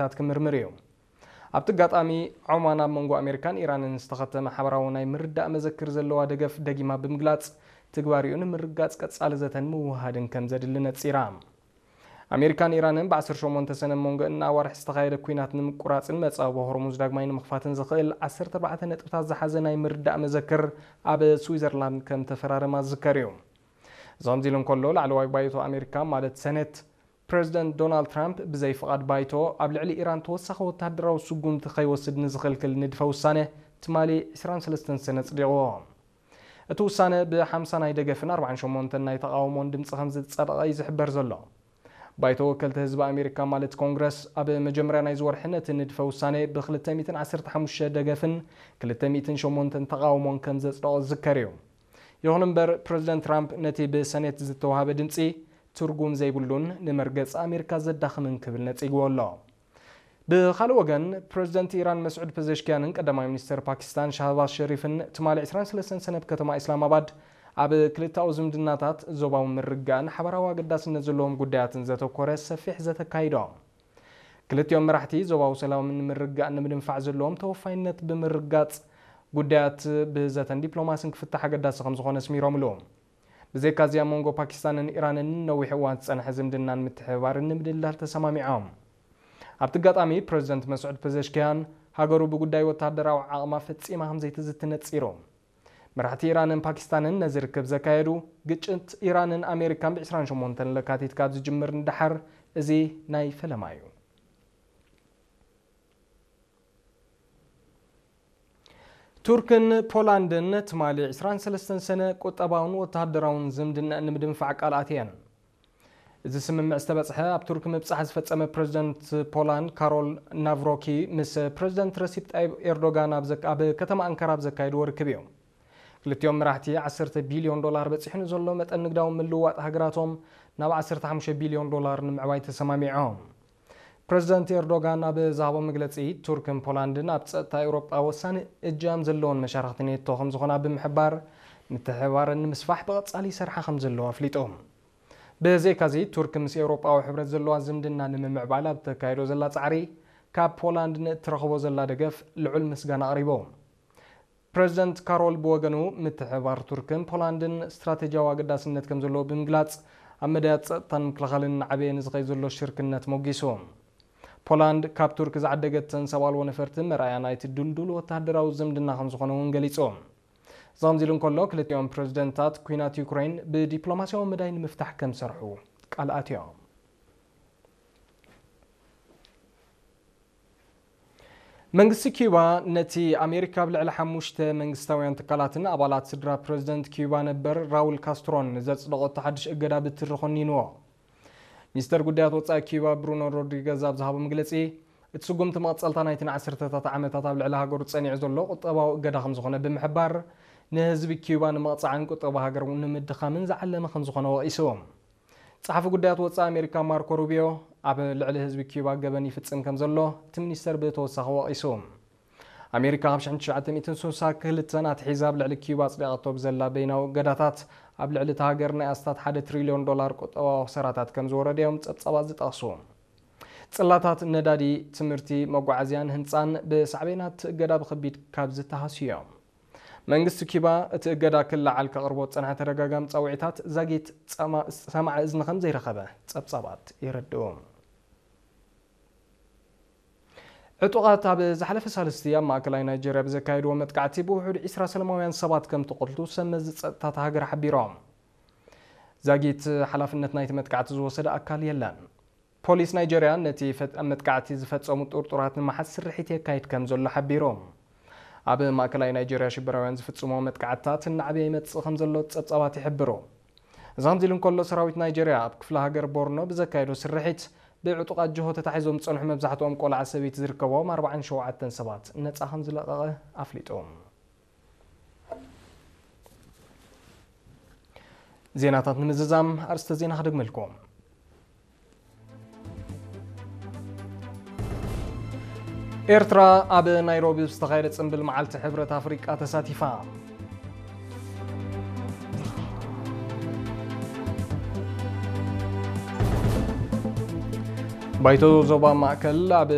ታት ክምርምር እዩ። ኣብቲ ኣጋጣሚ፣ ዖማን ኣብ መንጎ ኣሜሪካን ኢራንን ዝተኸተመ ሓበራዊ ናይ ምርዳእ መዘክር ዘለዋ ደገፍ ደጊማ ብምግላጽ፣ ትግባሪኡ ንምርጋጽ ቀጻሊ ዘተን ምውሃድን ከም ዘድሊ ነጺራ። ኣሜሪካን ኢራንን ብ ዓሰርተ ሸሞንተ ሰነ መንጎ እና ኣዋርሕ ዝተኻየደ ኲናት ንምቁራጽን መጻወ ሆርሙዝ ዳግማይ ንምኽፋትን ዝኽእል ዓሰርተ ኣርባዕተ ነጥብታት ዝሓዘ ናይ ምርዳእ መዘክር ኣብ ስዊዘርላንድ ከም ተፈራረማ ዝዝከር እዩ። እዚ ከምዚ ኢሉ እንከሎ፣ ላዕለዋይ ባይቶ ኣሜሪካ ማለት ሰኔት፣ ፕረዚደንት ዶናልድ ትራምፕ ብዘይ ፍቓድ ባይቶ ኣብ ልዕሊ ኢራን ተወሳኺ ወተሃደራዊ ስጉምቲ ከይወስድ ንዝኽልክል ንድፈ ውሳነ ትማሊ ዕስራን ሰለስተን ሰነ ኣጽዲቕዎ። እቲ ውሳነ ብ ሓምሳ ናይ ደገፍን ኣርባዓን ሸሞንተን ናይ ተቓውሞን ድምጺ ከም ዝጸደቐ እዩ ዝሕበር ዘሎ። ባይቶ ወከልቲ ህዝቢ ኣሜሪካ ማለት ኮንግረስ ኣብ መጀመርያ ናይዚ ወርሒ ነቲ ንድፈ ውሳነ ብ ክልተ ሚእትን ዓሰርተ ሓሙሽተ ደገፍን ክልተ ሚእትን ሸሞንተን ተቓውሞን ከም ዘጽደቖ ዝዝከር እዩ። ይኹን እምበር፣ ፕረዚደንት ትራምፕ ነቲ ብሰኔት ዝተዋህበ ድምጺ ትርጉም ዘይብሉን ንመርገጺ ኣሜሪካ ዘዳኽምን ክብል ነጺግዎ ኣሎ። ብኻልእ ወገን፣ ፕረዚደንት ኢራን መስዑድ ፐዘሽኪያንን ቀዳማይ ሚኒስተር ፓኪስታን ሻህባዝ ሸሪፍን ትማሊ ዕስራን ሰለስተን ሰነ ኣብ ከተማ ኢስላማባድ ኣብ ክልተኣዊ ዝምድናታት ዞባዊ ምርግጋእን ሓበራዊ ኣገዳስነት ዘለዎም ጉዳያትን ዘተኮረ ሰፊሕ ዘተ ኣካይዶም። ክልቲኦም መራሕቲ ዞባዊ ሰላም ንምርግጋእ ንምድንፋዕ ዘለዎም ተወፋይነት ብምርጋጽ፣ ጉዳያት ብዘተን ዲፕሎማስን ክፍታሕ ኣገዳሲ ከም ዝኾነ ኣስሚሮምሉ። ብዘይካዚ፣ ኣብ መንጎ ፓኪስታንን ኢራንን ነዊሕ እዋን ዝጸንሐ ዝምድናን ምትሕብባርን ንምድልዳል ተሰማሚዖም። ኣብቲ ኣጋጣሚ፣ ፕረዚደንት መስዑድ ፐዘሽኪያን ሃገሩ ብጉዳይ ወተሃደራዊ ዓቕማ ፈጺማ ከም ዘይትዝቲ ነጺሩ። መራሕቲ ኢራንን ፓኪስታንን ነዚ ርክብ ዘካየዱ፣ ግጭት ኢራንን ኣሜሪካን ብ ዕስራን ሸሞንተን ለካቲት ካብ ዝጅምር ንደሓር፣ እዚ ናይ ፈለማ እዩ። ቱርክን ፖላንድን ትማሊ ዕስራን ሰለስተን ሰነ ቁጠባውን ወተሃደራውን ዝምድና ንምድንፋዕ ቃል ኣትየን። እዚ ስምምዕ ዝተበጽሐ፣ ኣብ ቱርክ ምብጻሕ ዝፈጸመ ፕረዚደንት ፖላንድ ካሮል ናቭሮኪ ምስ ፕረዚደንት ረሲፕ ጣይብ ኤርዶጋን ኣብ ዘካ-፣ ኣብ ከተማ ኣንካራ ኣብ ዘካየድዎ ርክብ እዩ። ክልቲኦም መራሕቲ፣ ዓሰርተ ቢልዮን ዶላር በጺሑ ንዘሎ መጠን ንግዳዊ ምልውዋጥ ሃገራቶም ናብ ዓሰርተ ሓሙሽተ ቢልዮን ዶላር ንምዕባይ ተሰማሚዖም። ፕረዚደንት ኤርዶጋን ኣብ ዝሃቦ መግለጺ፣ ቱርክን ፖላንድን ኣብ ጸጥታ ኤውሮጳ ወሳኒ እጃም ዘለዎን መሻርኽቲ ኔቶ ከም ዝኾና ብምሕባር፣ ምትሕብባረን ንምስፋሕ ብቐጻሊ ይሰርሓ ከም ዘለዋ ኣፍሊጡ። ብዘይካዚ፣ ቱርክ ምስ ኤውሮጳዊ ሕብረት ዘለዋ ዝምድና ንምምዕባል ኣብ ተካይዶ ዘላ ጻዕሪ፣ ካብ ፖላንድ ንእትረኽቦ ዘላ ደገፍ ልዑል ምስጋና ኣቕሪቡ። ፕረዚደንት ካሮል ብወገኑ፣ ምትሕብባር ቱርክን ፖላንድን ስትራቴጂያዊ ኣገዳስነት ከም ዘለዎ ብምግላጽ፣ ኣብ መዳያት ጸጥታን ምክልኻልን እናዓበየ ንዝኸይድ ዘሎ ሽርክነት ሞጊሱ። ፖላንድ ካብ ቱርክ ዝዓደገተን ሰብ ኣልቦ ነፈርቲ መርኣያ ናይቲ ድልዱል ወተሃደራዊ ዝምድና ከም ዝኾነ እውን ገሊጹ። እዚ ከምዚ ኢሉ እንከሎ፣ ክልቲኦም ፕረዚደንታት፣ ኲናት ዩክሬን ብዲፕሎማስያዊ መዳይ ንምፍታሕ ከም ዝሰርሑ ቃል ኣትዮም። መንግስቲ ኪዩባ ነቲ ኣሜሪካ ኣብ ልዕሊ ሓሙሽተ መንግስታውያን ትካላትን ኣባላት ስድራ ፕረዚደንት ኪዩባ ነበር ራውል ካስትሮን ዘጽደቖቶ ሓድሽ እገዳ ብትሪ ኮኒንዎ። ሚኒስተር ጉዳያት ወጻኢ ኪዩባ ብሩኖ ሮድሪገዝ ኣብ ዝሃቦ መግለጺ፣ እቲ ስጉምቲ መቐጸልታ ናይቲ ንዓሰርተታት ዓመታት ኣብ ልዕሊ ሃገሩ ጸኒዑ ዘሎ ቁጠባዊ እገዳ ከም ዝኾነ ብምሕባር፣ ንህዝቢ ኪዩባ ንምቕጻዕን ቁጠባ ሃገር ንምድኻምን ዝዓለመ ከም ዝኾነ ወቒሱ። ጸሓፊ ጉዳያት ወጻኢ ኣሜሪካ ማርኮ ሩቢዮ፣ ኣብ ልዕሊ ህዝቢ ኪዩባ ገበን ይፍጽም ከም ዘሎ እቲ ሚኒስተር ብተወሳኺ ወቒሱ። ኣሜሪካ ካብ ሽሕን ትሽዓተ ሚእትን ስሳን ክልተን ኣትሒዛ ኣብ ልዕሊ ኪዩባ ኣጽዲቓቶ ብዘላ በይናዊ እገዳታት፣ ኣብ ልዕሊ እታ ሃገር ናይ ኣስታት ሓደ ትሪልዮን ዶላር ቁጠባዊ ክሰራታት ከም ዝወረደ እዮም ጸብጻባት ዝጠቕሱ። ጽላታት ነዳዲ፣ ትምህርቲ፣ መጓዓዝያን ህንጻን ብሳዕቤናት እገዳ ብኸቢድ ካብ ዝተሃስዩ እዮም። መንግስቲ ኪባ እቲ እገዳ ክለዓል ከቕርቦ ዝጸንሐ ተደጋጋሚ ጻውዒታት ዛጊት ጸማ-፣ ሰማዒ እዝኒ ከም ዘይረኸበ ጸብጻባት የረድኡ። ዕጡቓት ኣብ ዝሓለፈ ሳልስቲ ኣብ ማእከላይ ናይጀርያ ብዘካየድዎ መጥቃዕቲ ብውሑድ ዒስራ ሰላማውያን ሰባት ከም ተቐትሉ ሰብ መዚ ጸጥታ እታ ሃገር ሓቢሮም። ዛጊት ሓላፍነት ናይቲ መጥቃዕቲ ዝወሰደ ኣካል የለን። ፖሊስ ናይጀርያ ነቲ ፈ-፣ መጥቃዕቲ ዝፈጸሙ ጥርጡራት ንምሓዝ ስርሒት የካይድ ከም ዘሎ ሓቢሩ። ኣብ ማእከላይ ናይጀርያ ሽበራውያን ዝፍጽሞ መጥቃዕትታት እናዓበየ ይመጽእ ከም ዘሎ ጸብጻባት ይሕብሩ። እዚ ከምዚ ኢሉ እንከሎ፣ ሰራዊት ናይጀርያ ኣብ ክፍለ ሃገር ቦርኖ ብዘካየዶ ስርሒት፣ ብዕጡቓት ጅሆ ተታሒዞም ዝጸንሑ መብዛሕትኦም ቆልዓ ሰበይቲ ዝርከቦም ኣርባዓን ሸውዓተን ሰባት ነጻ ከም ዝለቐቐ ኣፍሊጡ። ዜናታት ንምዝዛም ኣርእስተ ዜና ክደግመልኩም። ኤርትራ ኣብ ናይሮቢ ዝተኻየደ ጽምብል መዓልቲ ሕብረት ኣፍሪቃ ተሳቲፋ። ባይቶ ዞባ ማእከል ኣብ